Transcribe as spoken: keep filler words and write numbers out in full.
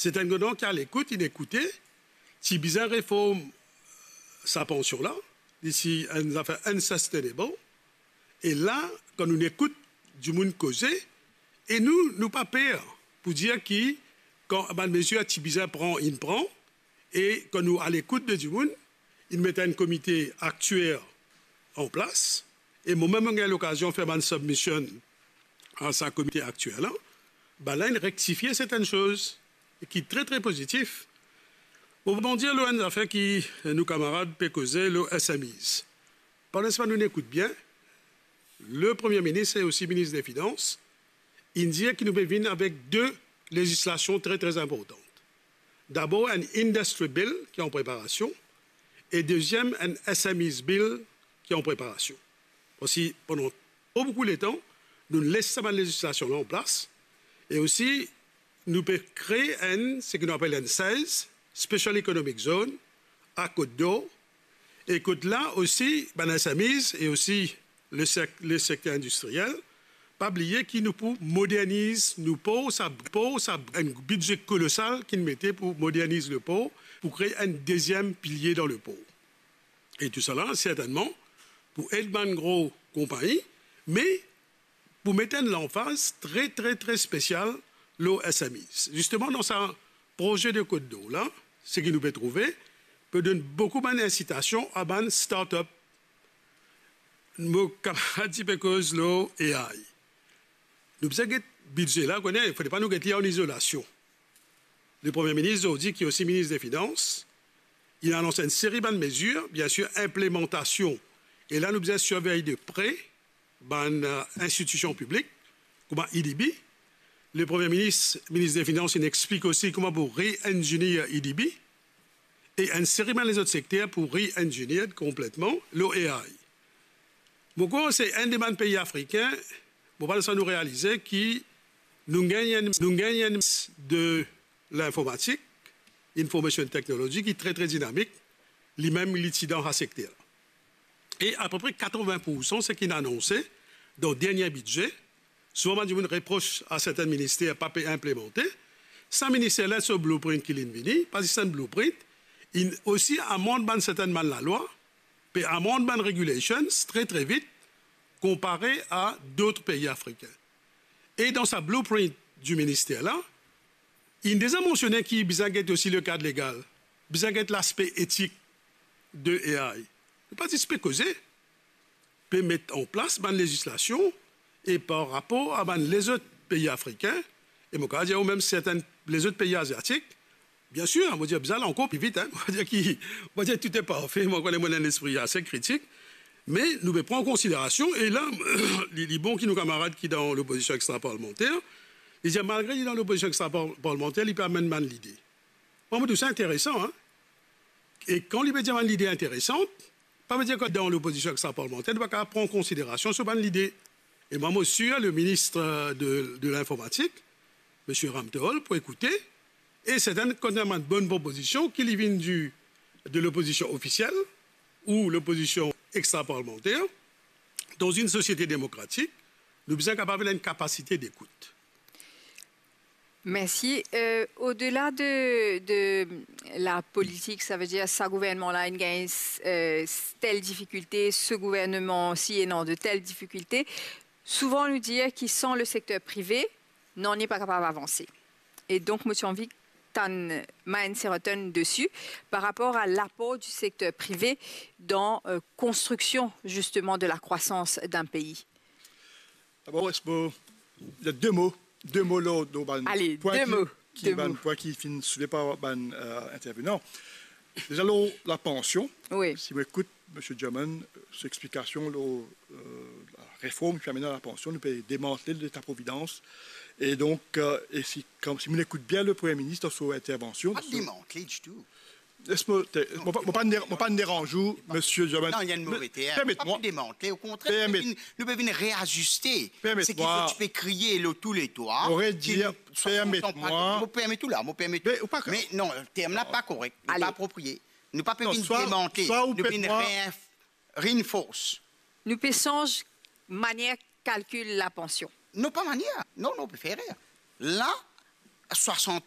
Serten gouverneman ki al ekout, inn ekoute, ti bizin reform sa pansion la, li ti enn zafer unsustainable. E la, kan nou ekout dimoun koze, e nou, nou pa per pou dir ki kan bann mezir ti bizin pran, inn pran, e kan nou al ekout de dimoun, inn met enn komite aktier an plas, e momem mo gagn lokazion fer bann submission a sa komite aktier la, bann la inn rektifie sertenn soz ki tre, tre pozitif. Mo pou dir lor enn zafer ki nou kamarad pe koze lor S M Es. Pandan sa nou ekout bien, le Premie Minis e osi Minis de Finans, inn dir ki nou pe vinn avek de lezislasion tre, tre inportan. Dabor, enn Industry Bill ki an preparasion, e deziem, enn S M Es Bill ki an preparasion. Parski pandan tro boukou letan, nou les sa bann lezislasion la an plas, e osi nou pe kree enn, seki nou apel enn SEZ, Special Economic Zone, a Côte d'Or, e kot la osi, bann S M Es e osi le sek-, le sekter indistriel, pa bliye ki nou pou moderniz nou por, sa por, sa enn bidze kolosal ki nou mete pou moderniz le por, pou kree enn deziem pilie dan le por. E tousala, sertennman, pou ed bann gro konpagni, me pou met enn lanfaz tre, tre, tre spesial lor S M Es. Zisteman, dan sa proze de Côte d'Or la, seki nou pe trouve, pe donn boukou bann insitasion a bann start-up. Mo kamarad ti pe koz lor A I. Nou bizin get bidze la, kone, fode pa nou get li an izolasion. Le Premie Minis zordi, ki osi Minis de Finans, inn anons enn seri bann mezir, biensir, inplemantasion. E la, nou bizin sirvey de pre bann, eh, institision piblik, kouma ADB. Le Premie Minis, Minis de Finans, inn explik osi kouma pou re-engineer ADB, e enn seri bann lezot sekter pou re-engineer konpletman lor A I. Mo krwar se enn de bann pei afrikin, mo panse nou realize ki nou gagn enn, nou gagn enn de linformatik, information technology, ki tre, tre dinamik, limem li ti dan sa sekter. E apepre katrovin poursan seki inn anonse dan dernie bidze, souvan bann dimoun repros a sertenn minister pa pe inplemante, sa minister la, so blueprint ki linn vini, pa zis enn blueprint, inn osi amand bann sertenn bann lalwa, pe amand bann regulations tre, tre vit, konpare a dot pei afrikin. E dan sa blueprint di minister la, inn deza mansione ki bizin get osi le kad legal, bizin get laspe etik de A I. Nou pa zis pe koze, pe met an plas bann lezislasion e par rapor a bann lezot pei afrikin, e mo kapav dir ou mem sertenn lezot pei aziatik, biensir, mo dir bizin al ankor pli vit, hein. Mo pa dir ki, mo pa dir tou e parfe, mo kone mo ena enn lespri ase kritik, me nou pe pran an konsiderasion, e la, li, li bon ki nou kamarad ki dan lopozision extraparlmanter, li dir malgre li dan lopozision extraparlmanter, li pe amenn bann lide. Mwa, mo trouv sa interesan, hein. E kan li pe dir bann lide interesan, pa vedir ki dan lopozision extraparlmanter, nou pa kapav pran an konsiderasion so bann lide. E mwa, mo sir le minis de, de linformatik, misie Ramtol, pou ekoute, e sertenn, kan ena bann bonn propozision, ki li vinn di, de lopozision ofisiel ou lopozision extraparlmanter, dan enn sosiete demokratik, nou bizin kapav ena enn kapasite dekout. Mersi. Euh, odela de, de lapolitik, savedir sa gouvernman la inn gagn, euh, tel difikilte, se gouvernman si ena de tel difikilte, souvan nou dir ki san le sekter prive, nanye pa kapav avanse. E donk, mo ti anvi tann Maën Seroten desi, par rapor a lapor di sekter prive dan, euh, konstriksion, zisteman, de lakrwasans dan pei. Dabor, eski mo, de mo, de mo lor, lor bann pwin ki, ki, bann pwin ki finn soulve par bann, euh, intervenan. Deza lor lapansion, si mo ekout misie German, euh, so explikasion lor, euh, lareform ki amenn a lapansion, nou pe demantle Leta Providans. E donk, euh, e si, kan, si mo ekout bien le Premie Minis dan so intervansion, pa demantle ditou. Les mo, mo pa, mo pa deranz ou, misie German. Non, li enn move term. Permet mwa. Pa demantle, okontrer, nou pe vinn, nou pe vinn reaziste seki zot ti pe kriye lor tou le twa. Mo permet ou la, mo permet ou. Me non, term la pa korek, li pa apropriye. Nou pa pe vinn demantle, nou vinn reinf-, reinforce. Nou pe sanz manier kalkil lapansion. Non, pa manier. Non, non, pe fer erer. La, swasant